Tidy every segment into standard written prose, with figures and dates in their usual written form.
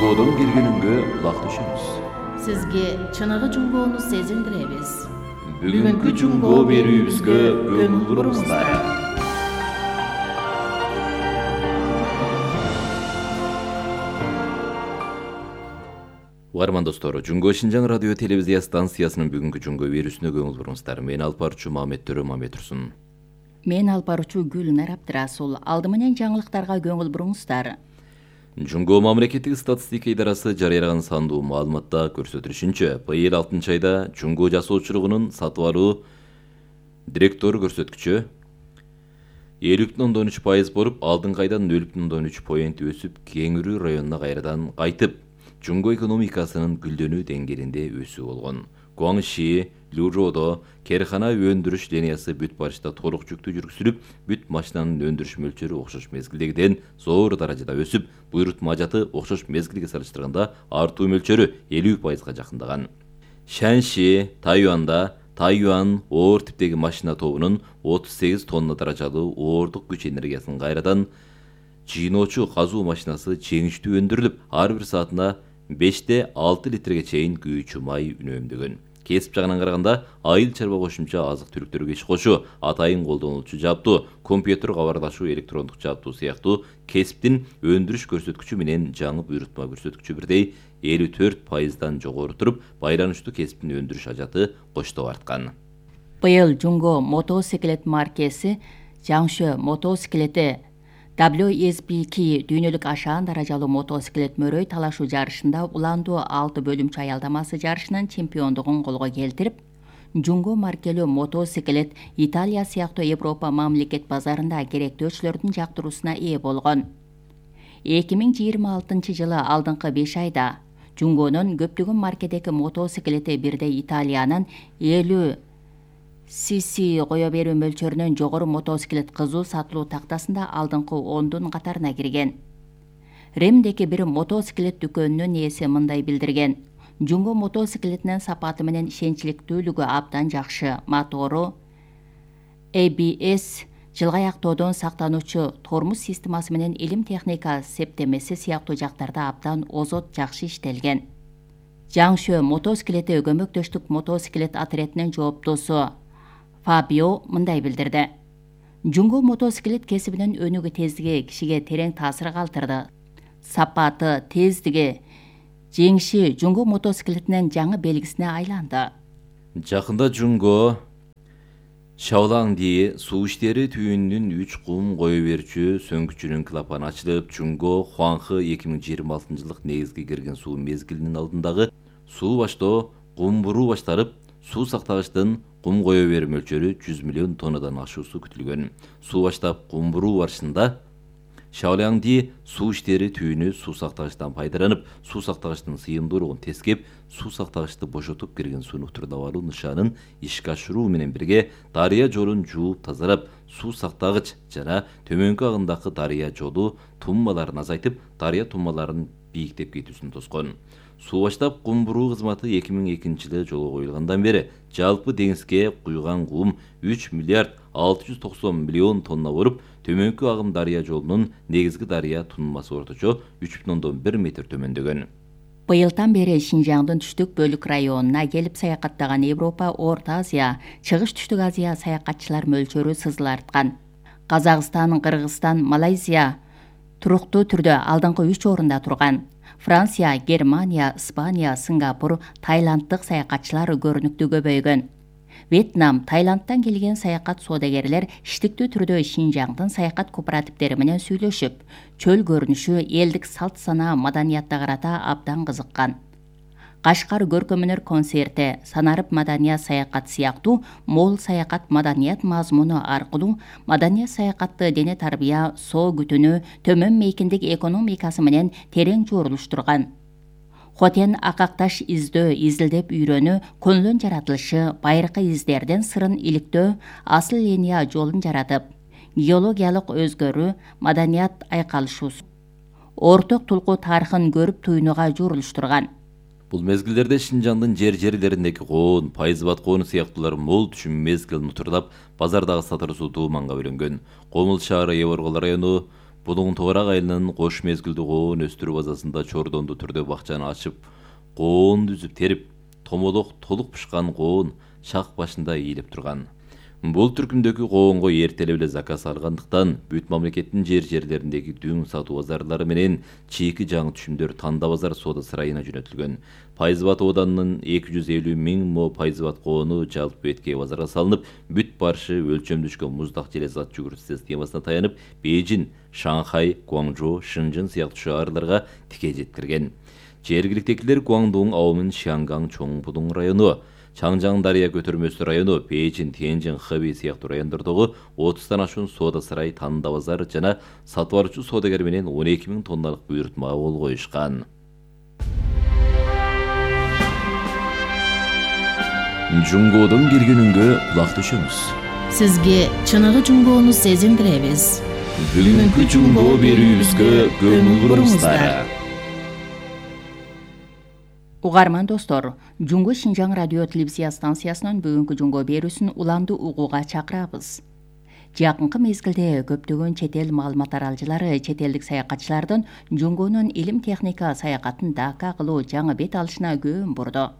Жунгодон келгениңге кулак түшүңүз. Сизге чыныгы жунгоону сезилдиребиз. Бүгүнкү жунгоо берүүбүзгө көңүл буруңуздар. Угарман достор, Жунгоо Шинжаң радио телевизия станциясынын бүгүнкү жунгоо берүүсүнө көңүл буруңуздар. Мен алып баруучу Мамет Төрө Мамет-Турсун. Мен алып баруучу Гүлнар Абдрасул. Алды менен жаңылыктарга көңүл буруңуздар. Жунгоо мамлекеттик статистика идарасы жарыялаган сандуу маалыматта көрсөтүлүшүнчө, быйыл 6-айда жунгоо жасоочулугунун сатып алуу директору көрсөткүчү 50,13% болуп, алдыңкы айдан 0,3 поинт өсүп, Кеңирүү районуна кайрадан кайтып, жунгоо экономикасынын гүлдөнүү деңгээлинде өсүү болгон. Гуаңши, Лужодо керкана өндүрүш линиясы бүт барышта толук жүктүү жүргүзүлүп, бүт машинанын өндүрүш мөлчөрү окшош мезгилдегиден зор даражада өсүп, буйрутма ажаты окшош мезгилге салыштырганда артуу мөлчөрү 50%га жакындаган. Шанши, Тайюан оор типтеги машина тобунун 38 тонна даражалуу оордук күч энергиясынын кайрадан жыйноочу казуу машинасы жеңиштүү өндүрүлүп, ар бир саатына 5-6 литрге чейин күйүүчү май үнөмдөгөн. Кесип жагынан караганда, айыл чарба кошумча азык түлүктөргө иш кошуу, атайын колдонулчу жабдуу, компьютер кабарлашуу, электрондук жабдуу сыяктуу кесиптин өндүрүш көрсөткүчү менен жаңы буйрутма көрсөткүчү бирдей 54%дан жогору туруп, байланыштуу кесиптин өндүрүш ажаты коштоп арткан. Быйыл жунгоо мотоциклет маркеси Жаңшө мотоциклети WSBK дүйнөлүк ашаан даражалуу мотоциклет мөрөй талашуу жарышында уландуу 6 бөлүмчө аялдамасы жарышынын чемпиондугун колго келтирип, жунгоо маркелүү мотоциклет Италия сыяктуу Европа мамлекет базарында керектөөчүлөрдүн жактыруусуна ээ болгон. 2026 жылы алдыңкы 5 айда жунгоонун көптөгөн маркедеги мотоциклети бирдей Италиянын 50 cc кое берүү мөлчөрүнөн жогору мотоциклет кызуу сатылуу тактасында алдыңкы 10 катарына кирген. Римдеги бир мотоциклет дүкөнүнүн ээси мындай билдирген: жунгоо мотоциклетинин сапаты менен ишенчиликтүүлүгү абдан жакшы, мотору ABS, жылгы аяктоодон сактануучу тормуз системасы менен илим техника септемеси сыяктуу жактарда абдан озот жакшы иштелген. Жаңшө мотоциклети көмөктөштүк мотоциклет отрядынын жооптосу Фабио мындай билдирди: жунгоо мотоциклет кесибинин өнүгүү тездиги кишиге терең таасир калтырды. Сапаты, тездиги, жеңиши жунгоо мотоциклетинин жаңы белгисине айланды. Жакында жунгоо Шаолаңди суу иштери түйүнүнүн 3 кум кое берүүчү сөңгүчүнүн клапаны ачылып, жунгоо Хуаңхы 2026 жылдык негизги кирген суу мезгилинин алдындагы суу баштоо кум буруу башталып, суу сактагычтын кум кое берүү мөлчөрү 100 миллион тоннадан ашуусу күтүлгөн. Суу баштап кум буруу барышында Шаолаңди суу иштери түйүнү суу сактагычтан пайдаланып, суу сактагычтын сыйымдуулугун тескеп, суу сактагычты бошотуп кирген сууну турдап алуу нышанын ишке ашыруу менен бирге дарыя жолун жууп тазалап, суу сактагыч жана төмөнкү агымдагы дарыя жолу туммаларын азайтып, дарыя туммаларын бийиктеп кетүүсүн тоскон. Суу баштап кум буруу кызматы 2002 жылы жолго коюлгандан бери жалпы деңизге куйган кум 3 миллиард 690 миллион тонна болуп, төмөнкү агым дарыя жолунун негизги дарыя тунмасы орточо 3,1 метр төмөндөгөн. Быйылдан бери Шинжаңдын түштүк бөлүк районуна келип саякаттаган Европа, Орто Азия, Чыгыш Түштүк Азия саякатчылар мөлчөрү сызыла арткан. Казакстан, Кыргызстан, Малайзия туруктуу түрдө алдыңкы 3 орунда турган. Франция, Германия, Испания, Сингапур, Таиланддык саякатчылар көрүнүктүү көбөйгөн. Вьетнам, Таиландтан келген саякат соодагерлер иштиктүү түрдө Шинжаңдын саякат кооперативдери менен сүйлөшүп, чөл көрүнүшү, элдик салт санаа, маданиятка карата абдан кызыккан. Кашкар көркөм-өнөр концерти, санарып маданият саякат сыяктуу мол саякат маданият мазмуну аркылуу маданият саякатты дене тарбия, соо күтүүнү, төмөн мейкиндик экономикасы менен терең жуурулуштурган. Хотен акакташ издөө, изилдеп үйрөнүү, көңүлүн жаратылышы, байыркы издерден сырын иликтөө, асыл линия жолун жаратып, геологиялык өзгөрүү, маданият айкалышуусу, орток тулкуу тарыхын көрүп туюнууга жуурулуштурган. Бул мезгилдерде Шинжаңдын жерлериндеги коон, пайызбат коonu сыяктуулар мол түшүм мезгилин утурлап, базардагы сатылуусу дууманга бөлөнгөн. Комул шаары Эворгол району Будун Тограк айылынын кош мезгилдүү коон өстүрүү базасында чордондуу түрдө бакчаны ачып, коонду үзүп терип, томолок толук пышкан коон шак башында ийилип турган. Бул түркүмдөгү коонго эртелеп эле заказ алгандыктан бүт мамлекеттин жерлериндеги дүң сатуу базарлары менен чийки жаңы түшүмдөр Танда базар соода сарайына жөнөтүлгөн. Пайзыбат ооданынын 250 миң мо пайзыбат коону жалпы бетке базарга салынып, бүт барышы өлчөмдүшкөн муздак желе зат жүгүртүү системасына таянып, Бейжин, Шанхай, Гуаңжоу, Шынжын сыяктуу шаарларга тике жеткирген. Жергиликтегилер Гуаңдун аумын Шианган чоң Будун району, Чаңжаң дарыя көтөрмөсү району, Бейжин, Тяньжин, Хэби сыяктуу райондордогу 30тан ашуун соода сарай, Танда базар жана сатып алуучу соодагер менен 12 миң тонналык буйрутмага кол коюшкан. Жунгодон келгенүнгө кулак төшөмүз. Сизге чыныгы жунгоону сезиндиребиз. Бүгүнкү жунгоо берүүбүзгө көңүл буруңуздар. Угарман достор, Жунгу Шинжаң радио телевизия станциясынын бүгүнкү жунгоо берүүсүн уламды угууга чакырабыз. Жакынкы мезгилде көптөгөн чет эл маалымат аралжылары чет элдик саякатчылардын жунгонун илим техника саякатын Дака кылуу жаңы бет алышына көңүл бурду.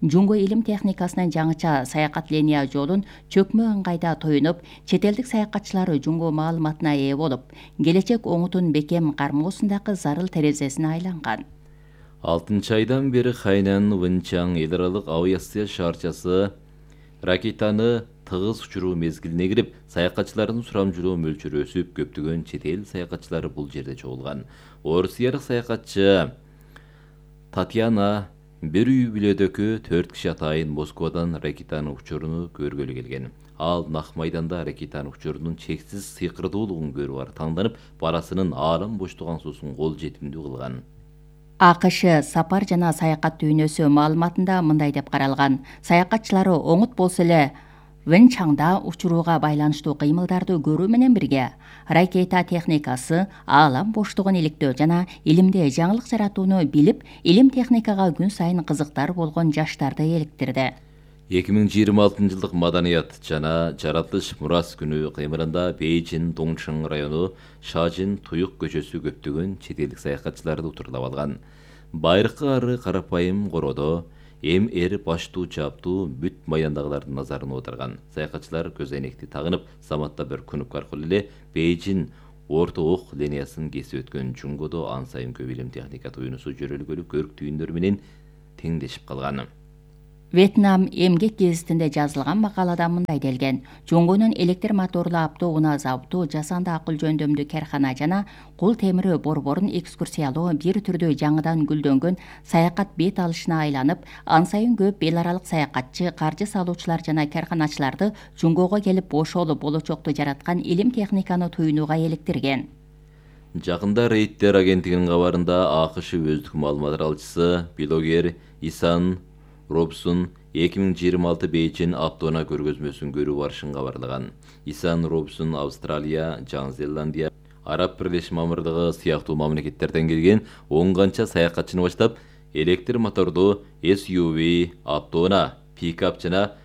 Жунгу илим техникасынын жаңыча саякат линия жолун чөкмө ыңгайда тоюнуп, чет элдик саякатчылар жунгу маалыматына ээ болуп, келечек оңутун бекем кармоосундагы зарыл терезесине айланган. 6 айдан бери Хайнан Вэнчаң эл аралык авиация шаарчасы ракетаны тыгыз учуруу мезгилине кирип, саякатчылардын сурамжылоо мөлчөрү өсүп, көптөгөн чет эл саякатчылары бул жерде чогулган. Орусиялык саякатчы Татьяна бир үй бүлөдөгү 4 киши атайын Москвадан ракетанын учуруну көргөлү келген. Ал нак майданда ракетанын учурунун чексиз сыйкырдуулугун көрүп таңданып, барасынын аалам боштук аңсоосун кол жетимдүү кылган. АКШ сапар жана саякат дүйнөсү маалыматында мындай деп каралган. Саякатчылары оңут болсо эле Вэнчаңда учурууга байланыштуу кыймылдарды көрүү менен бирге ракета техникасы, аалам боштугун иликтөө жана илимде жаңылык жаратууну билип, илим техникага күн сайын кызыктар болгон жаштарды эликтирди. 2026-жылдык маданият жана жаратылыш мурас күнү кыймылында Бейжин, Доңшың району, Шажин, Туюк көчөсү көптөгөн чет элдик саякатчыларды утурлап алган. Байыркы ары карапайым короодо эр баштуу чаптуу бүт майдандагылардын назарын оодарган. Саякатчылар көз айнекти тагынып, саматта бір күнүк аркылуу эле Бейжин орто ок линиясын кесип өткөн жунгодо ан сайын көп илим техника туюнусу жөрөлгөлү көрк түйүндөр менен теңдешип калган. Вьетнам эмгек гезитинде жазылган макалада мындай делген. Жунгонун электр моторлуу автоунаа заводу, жасанды акыл жөндөмдүү каркана жана кул темири борборун экскурсиялоо бир түрдүү жаңыдан гүлдөнгөн саякат бет алышына айланып, ан сайын көп эл аралык саякатчы, каржы салуучулар жана карканачыларды жунгого келип бошолуп болочокту жараткан илим техниканы туюнууга эликтирген. Жакында Рейттер агенттигинин кабарында АКШ өздүк маалымат аралчысы блогер Исан Робсон 2026 Бейжин автоунаа көргөзмөсүн көрүү барышын кабарлаган. Исан Робсон Австралия, Жаңы Зеландия, Араб Бирлешме Мамырдыгы сыяктуу мамлекеттерден келген 10 канча саякатчыны баштап, электр мотордуу SUV автоунаа, пикап жана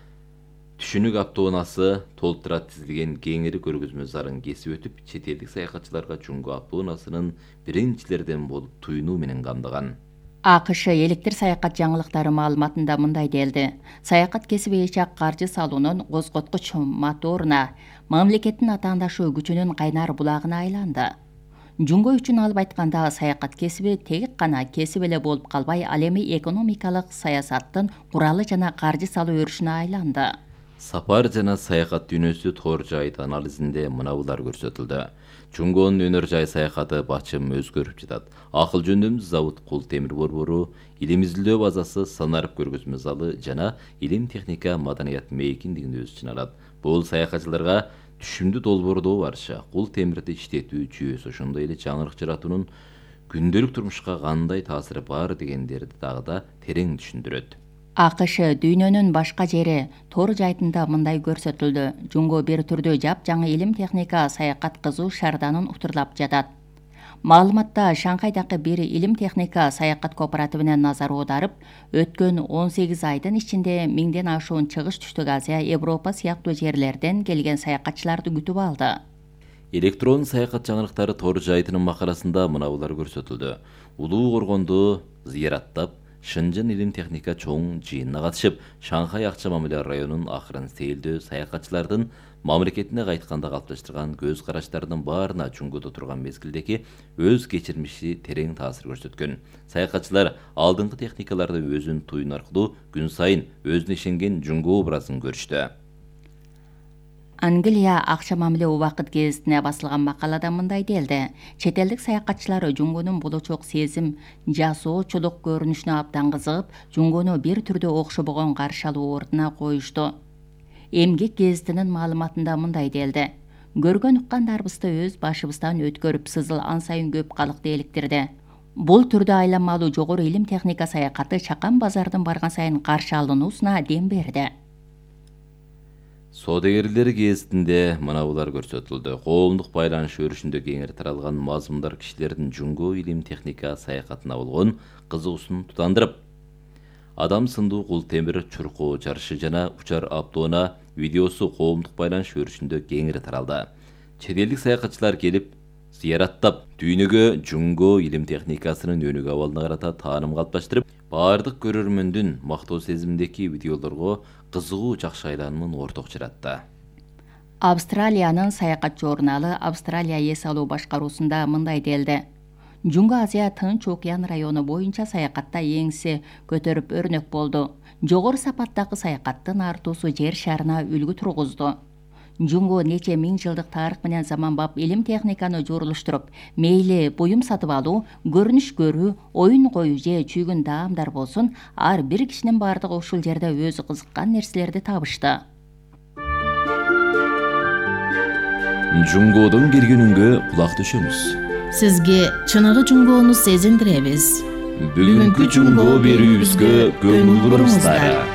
түшүнүк автоунаасы толтура тизилген кеңири көргөзмө зарын кесип өтүп, чет элдик саякатчыларга жунгу автоунаасынын биринчилерден болуп туюнуу менен камдаган. АКШ электр саякат жаңылыктары маалыматында мындай делди. Саякат кесиби ичак каржы салуунун козготкуч моторуна, мамлекеттин атаандашы күчүнүн кайнар булагына айланды. Жунго үчүн алып айтканда саякат кесиби тек гана кесип эле болуп калбай, ал эми экономикалык саясаттын куралы жана каржы салуу өрүшүнө айланды. Сапар жана саякат дүйнөсү тор жайыт анализинде мына булар көрсөтүлдү. Жунгонун өнөр жай саякаты бачым өзгөрүп жатат. Акыл жөндөмдүү завод, кул темир борбору, илим изилдөө базасы, санарып көргөзмө залы жана илим техника маданият мейкиндигин өз ичине алат. Бул саякатчыларга түшүмдүү долбоордоо барышы, кул темирди иштетүү жүйөсү, ошондой эле жаңылык жаратуунун күндөлүк турмушка кандай таасири бар дегендерди дагы да терең түшүндүрөт. АКШ дүйнөнүн башка жери тор жайтында мындай көрсөтүлдү. Жунго бир түрдүү жапжаңы илим техника саякат кызуу шаарданын утурлап жатат. Маалыматта Шанхайдагы бир илим техника саякат кооперативине назар аударып, өткөн 18 айдын ичинде 1000ден ашуун Чыгыш Түштүк Азия, Европа сыяктуу жерлерден келген саякатчыларды күтүп алды. Электрон саякат жаңылыктары тор жайтынын макаласында мынабулар көрсөтүлдү. Улуу Коргонду зыяраттап, Шынжын илим техника чоң жыйынына катышып, Шанхай акча мамиле районунун акырын сейилдөө саякатчылардын мамлекетине кайтканда калыпташтырган көз караштарынын баарына Жунгодо турган мезгилдеги өз кечирмиши терең таасир көрсөткөн. Саякатчылар алдыңкы техникаларды өзүн туюн аркылуу күн сайын өзүнө ишенген Жунго образын көрүштү. Англия акча мамиле убакыт гезитине басылган макалада мындай делди. Чет элдик саякатчылар Жунгонун болочок сезим, жасоочулук көрүнүшүнө абдан кызыгып, Жунгону бир түрдө окшобогон каршы алуу ордуна коюшту. Эмгек гезитинин маалыматында мындай делди. Көргөн уккандарыбызды өз башыбыздан өткөрүп, сызыл ан сайын көп калыкты эликтирди. Бул түрдө айланмалуу жогору илим техника саякаты чакан базардын барган сайын каршы алынуусуна дем берди. Содегерлер гезитинде мынабулар көрсөтүлдү. Коомдук байланыш өрүшүндө кеңири таралган мазмундар кишилердин Жунго илим техника саякатына болгон кызыгуусун тутандырып, адам сындуу кул темир чуркоо жарышы жана учар автоунаа видеосу коомдук байланыш өрүшүндө кеңири таралды. Чет элдик саякатчылар келип зыяраттап, дүйнөгө Жунго илим техникасынын өнүгүү абалына карата тааным калыпташтырып, баардык көрөрмөндүн мактоо сезиминдеги видеолорго кызыгуу жакшы айланымын орток жаратты. Австралиянын саякат журналы Австралия эс алуу башкаруусунда мындай делди. Жунго Азия Тынч океан району боюнча саякатта еңсе көтөрүп өрнөк болду. Жогору сапаттагы саякаттын артуусу жер шарына үлгү тургузду. Жунго нече миң жылдык тарых менен заманбап илим техниканы журулуштуруп, мейли буюм сатып алуу, көрүнүш көрүү, оюн коюу же чүйгүн даамдар болсун, ар бир кишинин бардыгы ушул жерде өзү кызыккан нерселерди табышты. Жунгодон келгенүнгө кулак төшөңүз. Сизге чыныгы Жунгону сезиндиребиз. Бүгүнкү Жунго берүүбүзгө көңүл буруңуздар.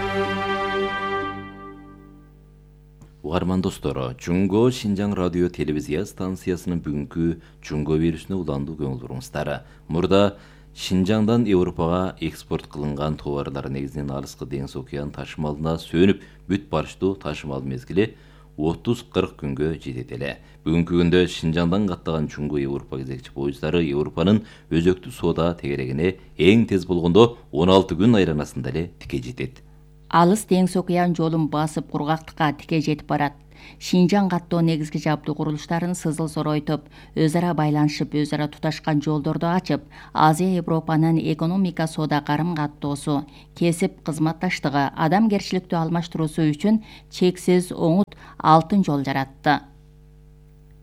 Угарман достор, Жунго Шинжаң радио телевизия станциясынын бүгүнкү Жунго берүүсүнө уландуу көңүл буруңуздар. Мурда Шинжаңдан Европага экспорт кылынган товарлар негизинен алыскы деңиз океан ташымалына сөнүп бүт барыштуу ташымал мезгили 30-40 күнгө жетет эле. Бүгүнкү күндө Шинжаңдан каттаган Жунго Европа кезекчи поезддары Европанын өзөктүү соода тегерегине эң тез болгондо 16 күн айланасында эле тике жетет. Алыс деңиз океан жолун басып кургактыкка тике жетип барат. Шинжаң каттоо негизги жабдуу курулуштарын сызыл соройтуп, өз ара байланышып, өз ара туташкан жолдорду ачып, Азия Европанын экономика соода карым-каттоосу, кесип кызматташтыгы, адамгерчиликтүү алмаштыруусу үчүн чексиз оңут алтын жол жаратты.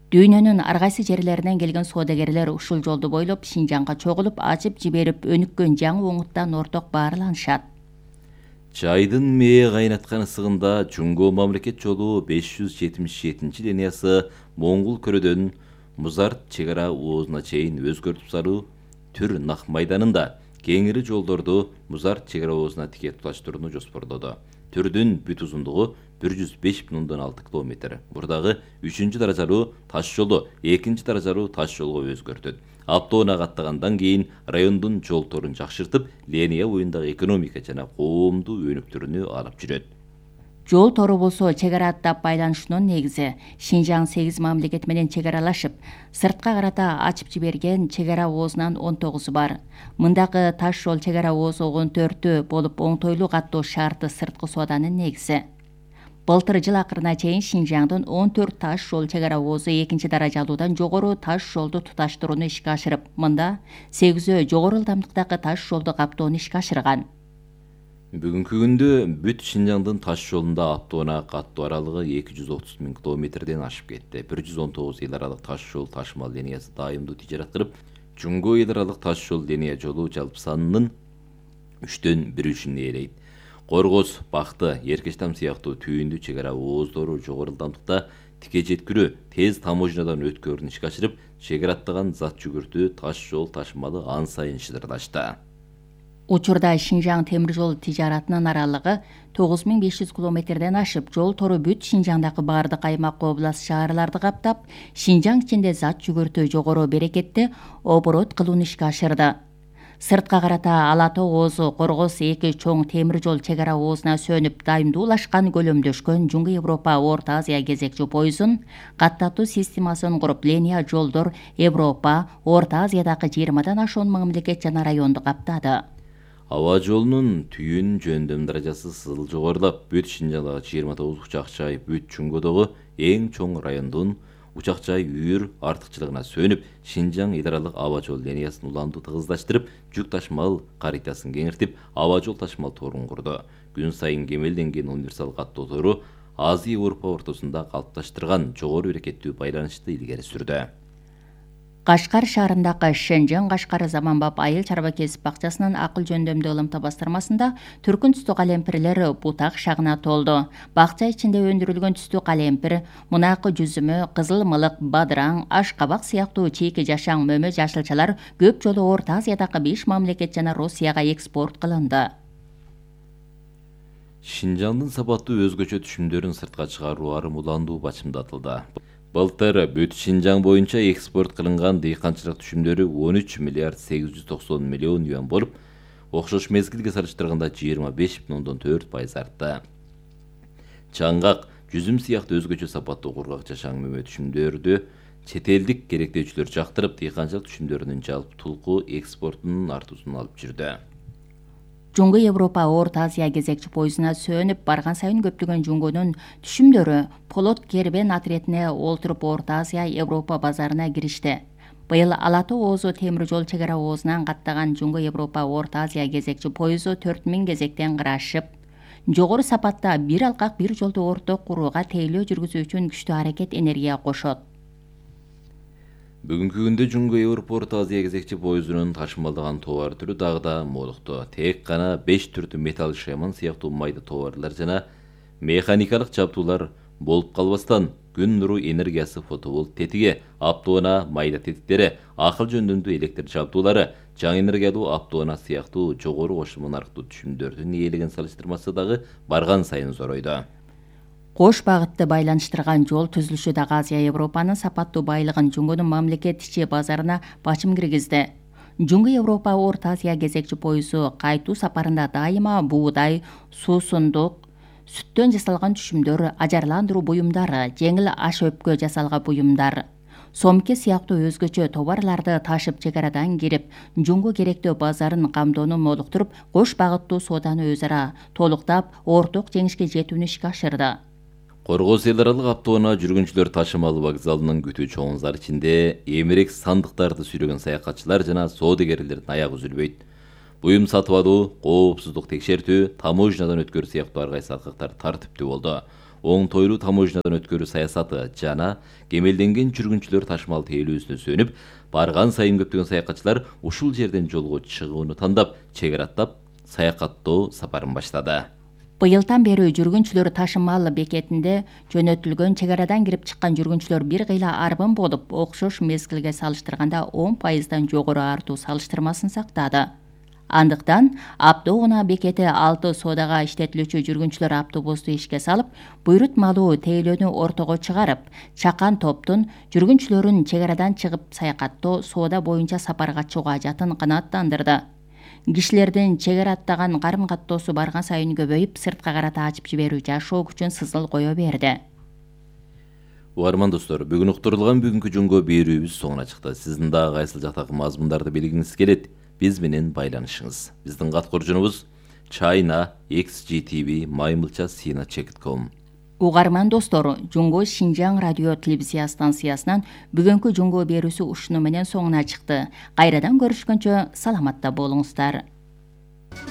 Дүйнөнүн ар кайсы жерлеринен келген соодагерлер ушул жолду бойлоп Шинжаңга чогулуп, ачып жиберип өнүккөн жаңы оңуттан орток баарланышат. Жайдын мээ кайнаткан ысыгында Жунго мамлекет жолу 577 линиясы Моңгол көрөдөн Музарт чек ара оозуна чейин өзгөртүп салуу түр нак майданында кеңири жолдорду Музарт чек ара оозуна тике туташтырууну жоспордоду. Түрдүн бүт узундугу 105,6 км. Бурдагы 3-чү даражалуу таш жолу 2-чи даражалуу таш жолго өзгөртөт. Автоунаа каттагандан кийин райондун жол торун жакшыртып, линия боюндагы экономика жана коомдуу өнүктүрүүнү алып жүрөт. Жол тору болсо чек ара аттап байланышынын негизи. Шинжаң 8 мамлекет менен чек аралашып, сыртка карата ачып жиберген чек ара оозунан 19 бар. Мындагы таш жол чек ара оозу 14 болуп, оңтойлуу каттоо шарты сырткы сооданын негизи. Былтыр жыл акырына чейин Шинжаңдын 14 таш жол чек ара оозу 2-чи даражалуудан жогору таш жолду туташтырууну ишке ашырып, мында 8 жогору ылдамдыктагы таш жолду каптоону ишке ашырган. Бүгүнкү күндө бүт Шинжаңдын таш жолунда автоунаа каттоо аралыгы 230 000 километрден ашып кетти. 119 эл аралык таш жол ташымал линиясы дайымдуу тижарат кылып, Жунго эл аралык таш жол линия жолу жалпы санынын 1/3-үн ээлейт. Коргоз, Бакты, Эркечтам сыяктуу түйүндүү чек ара ооздору жогору ылдамдыкта тике жеткирүү, тез таможнядан өткөрүүнү ишке ашырып, чек ара аттаган зат жүгүртүү таш жол ташымалы ан сайын шыдырлашты. Учурда Шинжаң темир жол тижаратынын аралыгы 9500 километрден ашып, жол тору бүт Шинжаңдагы бардык аймак, област, шаарларды каптап, Шинжаң ичинде зат жүгүртүү жогору берекетти оборот кылууну ишке ашырды. Сыртка карата Ала тоо оозу Коргос 2 чоң темир жол чек ара оозуна сөнүп дайымдуулашкан көлөмдөшкөн Жуңгу Европа Орто Азия кезекчи поездун каттатуу системасын куруп, линия жолдор Европа, Орто Азиядагы 20дан ашуун мамлекет жана районду каптады. Аба жолунун түйүн жөндөм даражасы сызыл жогорулап, бүт Шинжаңдагы 29 учак жай, бүт Жуңгудагы эң чоң райондун учак жай үйүр артыкчылыгына сөнүп, Шинжаң идаралык аба жол линиясын уланду тыгыздаштырып, жүк ташымал каритасын кеңиртип, аба жол ташымал торун курду. Күн сайын кемелденген универсал каттоо тору Азия Европа ортосунда калыпташтырган жогору берекеттүү байланышты илгери сүрдү. Кашкар шаарындагы Шенжен Кашкар Заманбап айыл чарба кесип бакчасынын акыл жөндөмдүү ылымта бастырмасында түркүн түстүү калемпирлер бутак шагына толду. Бакча ичинде өндүрүлгөн түстүү калемпир, мунакы жүзүмө, кызыл мылык, бадыраң, аш кабак сыяктуу чийки жашаң мөмө жашылчалар көп жолу Орто Азиядагы 5 мамлекет жана Россияга экспорт кылынды. Шинжаңдын сапаттуу өзгөчө түшүмдөрүн сыртка чыгаруу арым уландуу бачымдатылды. Былтыр бүт Шинжаң боюнча экспорт кылынган дыйканчылык түшүмдөрү 13 миллиард 890 миллион юан болуп, окшош мезгилге салыштырганда 25,4% артты. Чаңгак, жүзүм сыяктуу өзгөчө сапаттуу кургак жашаң мөмө түшүмдөрдү чет элдик керектөөчүлөр жактырып, дыйканчылык түшүмдөрүнүн жалпы тулку экспортунун артуусун алып жүрдү. Жуңгу Европа Орто Азия кезекчи поездуна сөнүп барган сайын көптөгөн Жуңгунун түшүмдөрү полот кербен отретине олтуруп Орто Азия Европа базарына киришти. Быйыл Ала тоо оозу темир жол чек ара оозунан каттаган Жуңгу Европа Орто Азия кезекчи поезду 4000 кезектен кырашып, жогору сапатта бир алкак бир жолду орток курууга тейлөө жүргүзүү үчүн күчтүү аракет энергия кошот. Бүгүнкү күндө Жуңгу Европа Орто Азия кезекчи поездунун ташымалдаган товар түрү дагы да молукту. Тек гана 5 түрдүү металл шеман сыяктуу майда товарлар жана механикалык жабдуулар болуп калбастан, күн нуру энергиясы фотоволт тетиги, автоунаа майда тетиктери, акыл жөндөмдүү электр жабдуулары, жаңы энергиялуу автоунаа сыяктуу жогору кошулма нарктуу түшүмдөрдүн ээлеген салыштырмасы дагы барган сайын зоройду. Кош багытты байланыштырган жол түзүлүшү дагы Азия Европанын сапаттуу байлыгын Жуңгунун мамлекет ичи базарына бачым киргизди. Жуңгу Европа Орто Азия кезекчи поезду кайтуу сапарында дайыма буудай, суусундук, сүттөн жасалган түшүмдөр, ажарландыруу буюмдары, жеңил аш өпкө жасалган буюмдар, сомке сыяктуу өзгөчө товарларды ташып чек арадан кирип, Жуңгу керектөө базарын камдоону молуктуруп, кош багыттуу сооданы өз ара толуктап, орток жеңишке жетүүнү ишке ашырды. Коргос эл аралык автоунаа жүргүнчүлөр ташымал вокзалынын күтүү чоң зал ичинде эмерек сандыктарды сүйрөгөн саякатчылар жана соодагерлердин аягы үзүлбөйт. Буюм сатып алуу, коопсуздук текшертүү, таможнядан өткөрүү сыяктуу ар кайсы акыктар тартиптүү болду. Оңтойлуу таможнядан өткөрүү саясаты жана кемелденген жүргүнчүлөр ташымал тейлөөсүнө сөнүп, барган сайын көптөгөн саякатчылар ушул жерден жолго чыгууну тандап, чек араттап, саякаттоо сапарын баштады. Быйылдан бери жүргүнчүлөр ташымал бекетинде жөнөтүлгөн чек арадан кирип чыккан жүргүнчүлөр бир кыйла арбын болуп, окшош мезгилге салыштырганда 10%дан жогору артуу салыштырмасын сактады. Андыктан автоунаа бекети 6 соодага иштетилүүчү жүргүнчүлөр автобусту ишке салып, буйрутмалуу тейлөөнү ортого чыгарып, чакан топтун жүргүнчүлөрүн чек арадан чыгып саякаттоо, соода боюнча сапарга чыгуу ажатын канааттандырды. Кишилердин чек ара аттаган карым-каттоосу барган сайын көбөйүп, сыртка карата ачып жиберүү жашоо күчүн сызыл кое берди. Угарман достор, бүгүн уктурулган бүгүнкү Жуңгу берүүбүз соңуна чыкты. Сиздин дагы кайсыл жактагы мазмундарды билгиңиз келет, биз менен байланышыңыз. Биздин кат коржунубуз china@xgtv@maymilcha.com. Угарман достор, Жуңгу Шинжаң радио телевизия станциясынан бүгүнкү Жуңгу берүүсү ушуну менен соңуна чыкты. Кайрадан көрүшкөнчө саламатта болуңуздар.